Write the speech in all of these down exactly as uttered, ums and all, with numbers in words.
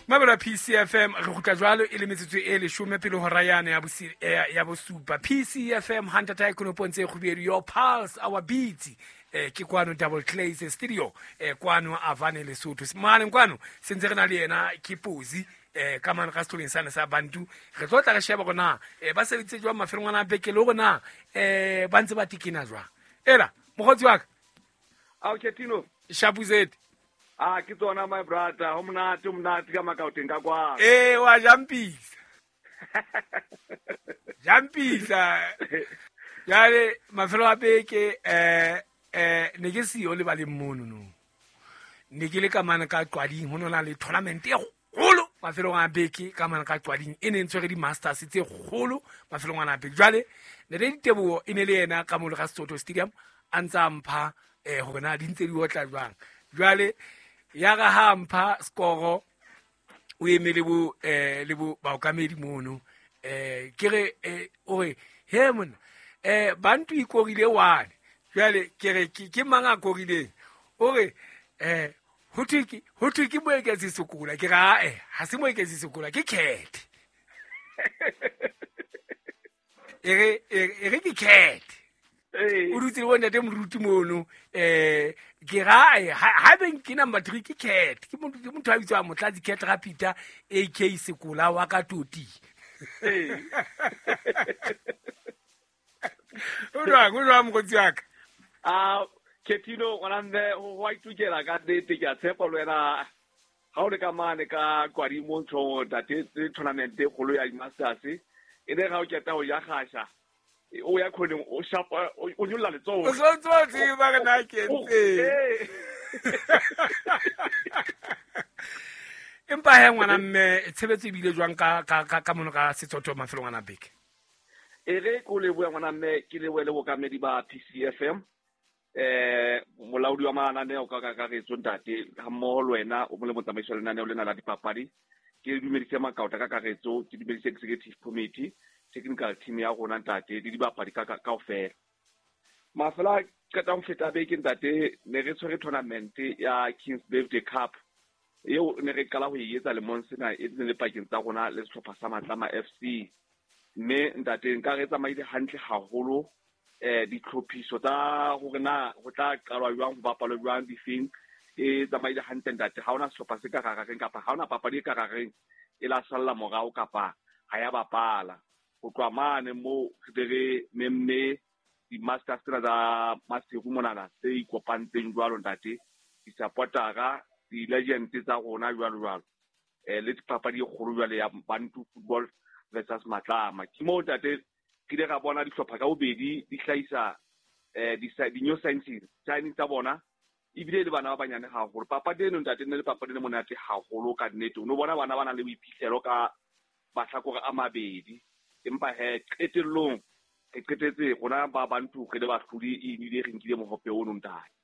Mabelo P C F M re kgutla jwalo e le metsotso e leshome pele hora yane ya bosi ya bosupa. P C F M Hunter Tycoon Ponse Kgubedu, your pulse our beat. Eh ke kwano Double Clays Studio eh kwano Avane Lesotho. Mane kwano sentse re na le yena ke Pozi eh ka mane ka setoleng sane sa Bantu. Re tlo tla re sheba gona eh ba sebeditse jwang mafelong ana beke le rona eh ba ntse ba tikina jwang. Ela mokgotsi wa ka. Ao Ketino. Shapuzet. Ah, ke tsona my brother, ho monate, ho monate ka makaoteng ka kwa. Eh, wa jampisa. Jampisa. Jale mafelo a beke eh eh ne ke siyo le ba le mono no. Ne ke le ka mane ka Qwading, ho nona le tournament e kgolo mafelong a beke ka mane ka Qwading e ne ntshwere di masters tse kgolo mafelong a beke. Jwale ne le diteboho e ne le yena ka mo le ga Sesotho Stadium a ntsa mpha eh hore na di ntse di otla jwang. Jwale ya ga ha mpha skoro o emele bo eh le bo baokamedi mono eh ke re o re he mona eh Bantu ikorile one. Jwale ke re ke mang a korileng o re eh ho thwe ke ho thwe ke Moeketsi Sekola. Ke ra eh ha se Moeketsi Sekola ke Cat. E re e re ke Cat. O dutse le bona ntate moruti mono eh ke ra ha beng ke number three ke Cat. Ke motho ke motho a bitswang Motlatsi Cat Rapita A K Sekola wa ka Toti. O jwang o jwang mokgotsi wa ka? Ah Ketino ngwana mme ho wa itukela ka nnete ke a tshepa le wena ha o le ka mane ka Qwading mo ntho ntate tournament e kgolo ya di-masters e ne ga o keta ho ya kgasha o ya khoneng o shapa o nyolla letsoho o tlo tseba re na ke ntse. Empa he ngwana mme tshebetso e bile jwang ka ka ka mono ka Sesotho mafelong ana beke? E re ko le bua ngwana mme ke le wele bokamedi ba P C F M eh molaodi wa mananeo ka kakaretso ntate ha mmoho le wena o mole motsamaiso wa lenaneo lena la dipapadi. Ke dumedise makaota ka kakaretso, ke dumedise executive committee, technical team ya rona ntate le dibapadi ka kaofela. Mafela qeta ho feta beke ntate ne re tshwere tournament ya Kings Birthday Cup eo ne re qala ho e etsa lemong sena e ne le pakeng tsa rona le sehlopha sa Matlama F C. Mme ntate nka re tsamaile hantle haholo eh ditlhophiso tsa hore na ho tla qalwa jwang ho bapalwa jwang difeng e tsamaile hantle ntate. Ha hona sehlopha se ka rareng kapa ha hona papadi e ka rareng e la salla morao kapa ha ya bapala. Ho tloha mane mo re re memme di-masters tsena tsa Maseru monana tse ikopantseng jwalo ntate, di-supportera, di-legend tsa rona jwalo jwalo eh le papadi e kgolo jwale ya Bantu Football versus Matlama. Ke moo ntate ke ile ra bona dihlopha ka bobedi di hlahisa eh di-new signings signing tsa bona ebile le bana ba banyane haholo. Papadi eno ntate ne le papadi e monate haholo ka nnete. O no bona bana ba nang le boiphihlelo ka mahlakore a mabedi. Empa he qetellong re qetetse rona ba Bantu re le bahlodi ebile re nkile mohope ono ntate.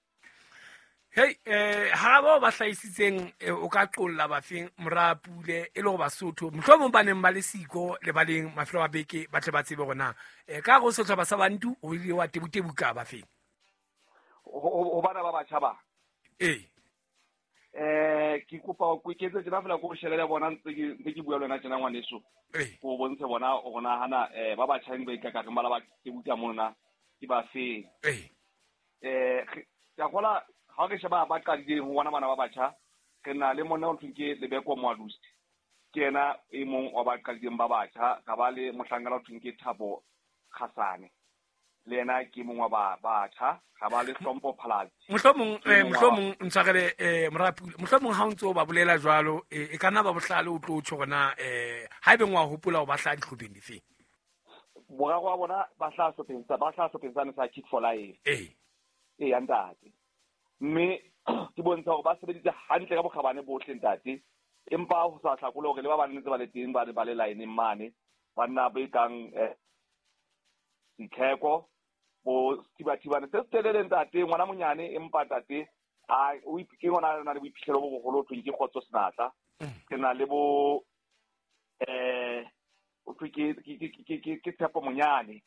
Hey eh ha ba ba hlahisitseng o ka qolla bafeng Morapule e le go Basotho mohlomong ba neng ba le siko le ba leng mafelo a beke ba tle ba tsebe hore na eh ka go sehlopha sa Bantu o ile wa tebutebuka bafeng ho bana ba batjha ba eh eh ke kopa o iketse tjena fela ko shebele bona ntse ke ntse ke bua le wena tjena ngwaneso go bontshe bona o nahana eh ba batjha ba ikaka re mala ba tebuka mona ke ba feng eh eh ka gola ha re sheba ba qadileng ho bona bana ba batjha re na le monna o thweng ke Lebeko Moalusi ke yena e mong wa ba qadileng ba batjha. Ka ba le mohlankana o thweng ke Thabo Khasane le yena ke mong wa ba batjha. Ga ba le Hlompho Phalatsi mohlomong eh mohlomong ntshwarele eh Morapule mohlomong ha o ntse o ba bolela jwalo e ka nna ba bohlale o tlo tjho hore eh ha ebe ngwa hopola o ba hlaha dihlopheng difeng. Boraro wa bona ba hlaha sehlopheng sa ba hlaha sehlopheng sane sa Kick for Life eh eh ya ntate. Mme ke bontsha hore ba sebeditse hantle ka bokgabane bohle ntate. Empa ho sa hlakole hore le ba bang ntse ba le teng ba ba le line mane banna ba kang Ditlheko bo Thibathibane se telele ntate ngwana monyane empa ntate a o ke ngwana na le boiphihlelo bo boholo thweng ke Kgotso Senatla. Ke na le bo eh o thwe ke ke ke ke Tshepo Monyane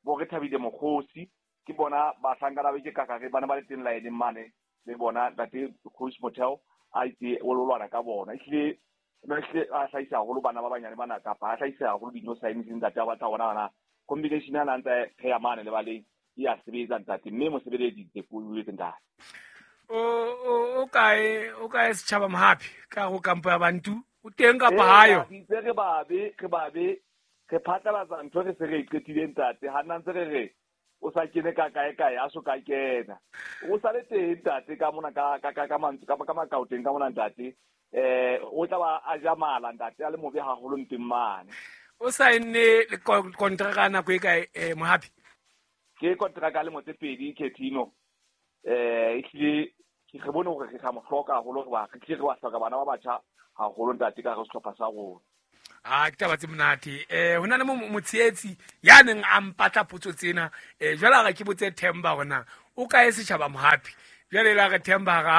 bo re Thabile Mokgosi ke bona bahlankana ba ke kakare bana ba le teng line mane le bona ntate Coach Motel a itse o lwana ka bona ehlile ehlile a hlahisa haholo bana ba banyane bana kapa a hlahisa haholo dino signs ntate ba batla bona bana combination ya ntse pheya mane le baleng ya sebetsa ntate mme mosebeleditse ko o ntate o o kae o kae setjhaba Mohapi ka go kampo ya Bantu o teng kapa hayo itse re babe re babe re phatlalatsa ntho re se re qetile ntate ha nna ntse re re o sa kene ka kae kae a so ka kena o sa le teng ntate ka mona ka ka ka mantswe ka ka makaoteng ka mona ntate eh o tla ba a ja mala ntate a le mobe haholo nteng mane o saenne le kontraka nako e kae eh Mohapi ke kontraka le motse pedi Ketino eh ehlile ke re bone hore re ga mo hloka haholo re ba re tle re wa hloka bana ba batjha haholo ntate ka re sehlopha sa rona a ke taba tse monate eh hona le motsheetsi ya neng a mpatla potso tsena eh jwale ga ke botse Themba hona o kae setjhaba Mohapi jwale la re Themba ga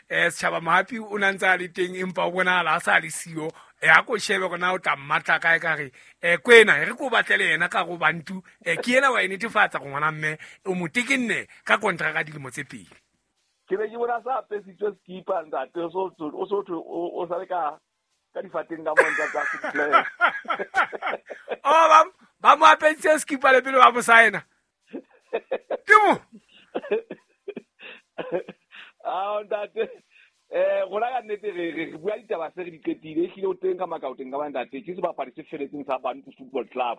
eh setjhaba Mohapi o na ntse a le teng empa o bonahala a sa le siyo e a ko shebe gona o tla mmatla kae ka re eh kwena re ko batlele yena ka go Bantu eh ke yena wa e netefatsa go ngwana mme o mo tekenne ka kontraka dilemo tse pedi ke be ke bona sa apesitswe skipa ntate o so o so o sa le ka ka difateng ka monta tsa se oh ba ba mo apesitse skipa le pele ba mo saena ke mo ah ntate eh rona ka nnete re re bua ditaba se re di qetile ehlile o teng ka makaoteng ka ntate ke sebapadi se feletseng sa Bantu Football Club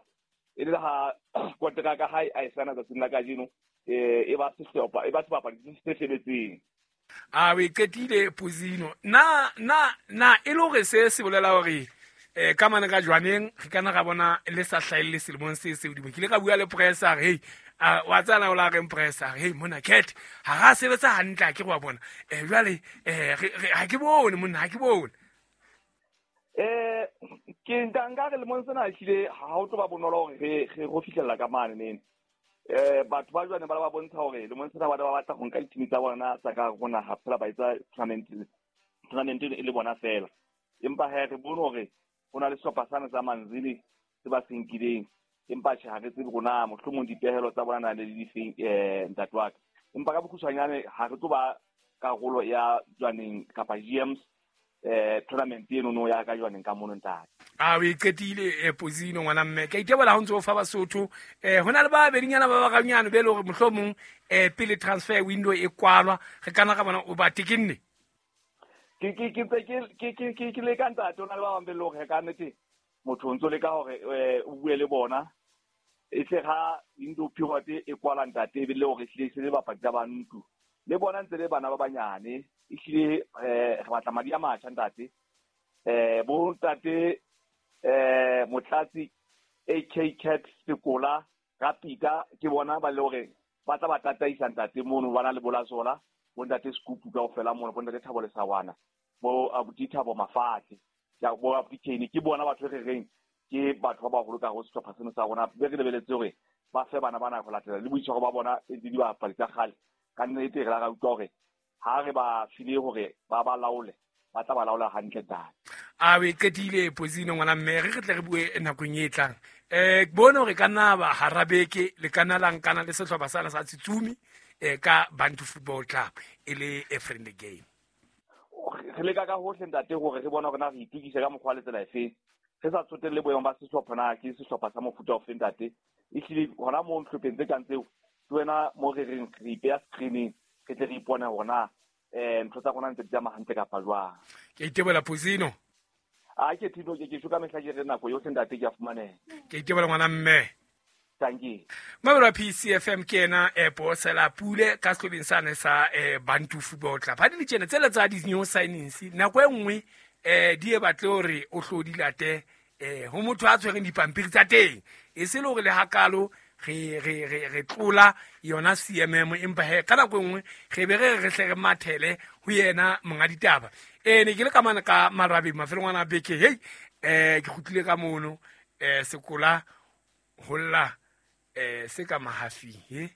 e le ha kontraka hae a e sana tsatsing la kajeno eh e ba sehlopha e ba sebapadi se feletseng a we qetile Pozino na na na e le hore se se bolela hore eh ka mane ka jwaneng re kana ga bona le sa hlaelle selemong se se hodimo ke ile ka bua le pressa hey a wa tsana o la re pressa hey mona cat ha ga sebetsa hantle ke go bona eh jwale eh ha ke bone monna ha ke bone eh ke ntanga re lemong sena ehlile ha o tlo ba bonolo hore re re go fihlella ka mane nene eh batho ba jwane ba ba bontsha hore lemong sena ba ba batla go nka ditimi tsa bona tsa ka rona ha phela ba etsa tournament tournament e le bona fela empa ha re bone hore ho na le sehlopha sana sa Manzini se ba se nkileng empa tjhe ha re tsebe rona mohlomong dipehelo tsa bona na le difeng eh ntate wa ka empa ka bokgutshwanyane ha re tlo ba karolo ya jwaneng kapa G Ms eh tournament eno no ya ka jwaneng ka mono ntate a we qetile Pozino ngwana mme ke itebola ha ntse o fa Basotho eh hona le ba bedinyana ba baganyana be le hore mohlomong eh pele transfer window e kwalwa re kana ga bona o ba tekenne ke ke ke ke ke ke ke le ka ntate ona le ba bang be le hore ka nnete motho o ntso le ka hore o bue le bona e tle ga window period e kwala ntate e be le hore ehlile se le bapadi tsa Bantu le bona ntse le bana ba banyane ehlile eh re batla madi a matjha ntate eh bo ntate eh Motlatsi A K Cat Sekola Rapita ke bona ba le hore ba tla ba tataisa ntate mono bana le Bolazola bo ntate Scoop kaofela mono bo ntate Thabo Lesawana bo abuti Thabo Mafatle ya bo abuti Kane ke bona batho re reng ke batho ba baholo ka go sehlopha seno sa rona be re lebeletse hore ba fe bana bana go latela le boitshwaro ba bona e di dibapadi tsa kgale ka nnete re la ra utlwa hore ha re ba file hore ba ba laole ba tla ba laola hantle ntate a we qetile Pozino ngwana mme re tle re bue nakong e tlang eh ke bone hore ka nna ba harabeke le kana la nkana le sehlopha sana sa Tsitsumi eh ka Bantu Football Club e le a friendly game re leka ka hohle ntate hore re bona hore na re itukise ka mokgwa le tsela efe re sa tsotelle boemo ba sehlopha na ke sehlopha sa mofuta ofe ntate ehlile hona moo ntlhopheng tse kang tseo ke wena mo re reng re ipeya screening re tle re ipone hore na eh ntho tsa rona ntse di tsamaya hantle kapa jwang ke itebola Pozino a ke thino ke ke sho ka mehla ke re nako yohle ntate ke a fumaneha ke itebola ngwana mme thank you Mabelo P C F M ke ena e Bosela Pule ka sehlobeng sane sa Bantu Football Club ha di le tjena tsela tsa di new signings nako e nngwe eh di e batle hore o hlo di late eh ho motho a tshwereng dipampiri tsa teng e se le hore le hakalo re re re re tlola yona C M M empa he ka nako e nngwe re be re re hle re mathele ho yena monga ditaba eh ne ke le ka mana ka marabeng mafelong ana beke hey eh ke kgutlile ka mono eh sekola holla eh se ka mahafi he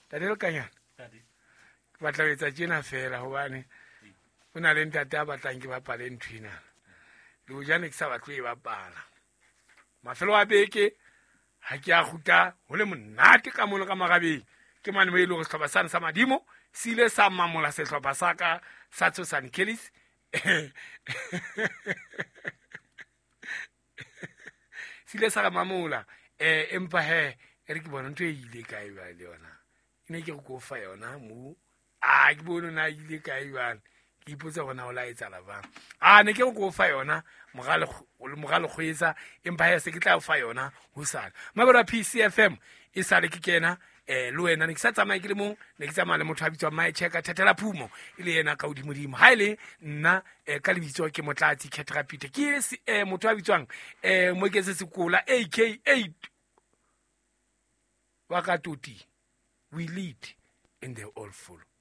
tate le kanyana ke batla ho etsa tjena fela hobane ho na le ntate a batlang ke bapale ntho ena le hojane ke sa batle e bapala mafelo a beke ha ke a kguta ho le monate ka mono ka marabeng ke mane mo e le hore sehlopha sane sa Madimo se ile sa mamola sehlopha sa ka sa Tshosane Kellis. Se ile sa re mamola um empa he e re ke bona ntho e ile kae jwale le yona. Ke ne ke re ko fa yona mo. A ke bone na ile kae jwale. Ke ipotsa hore na o la etsahala jwang. A ne ke re ko fa yona moralo kgwetsa empa he se ke tla o fa yona hosane. Mabelo a P C F M e sale ke kena eh le wena ne ke sa tsamaye ke le mong, ne ke tsamaya le motho a bitswang Maecheka Thethela Phumo e le yena ka hodimodimo. Ha e le nna eh, ka lebitso ke Motlatsi Khetra Peter, ke eh, motho a bitswang eh Moketse Sekola A K A wa ka Toti. We lead and they all follow.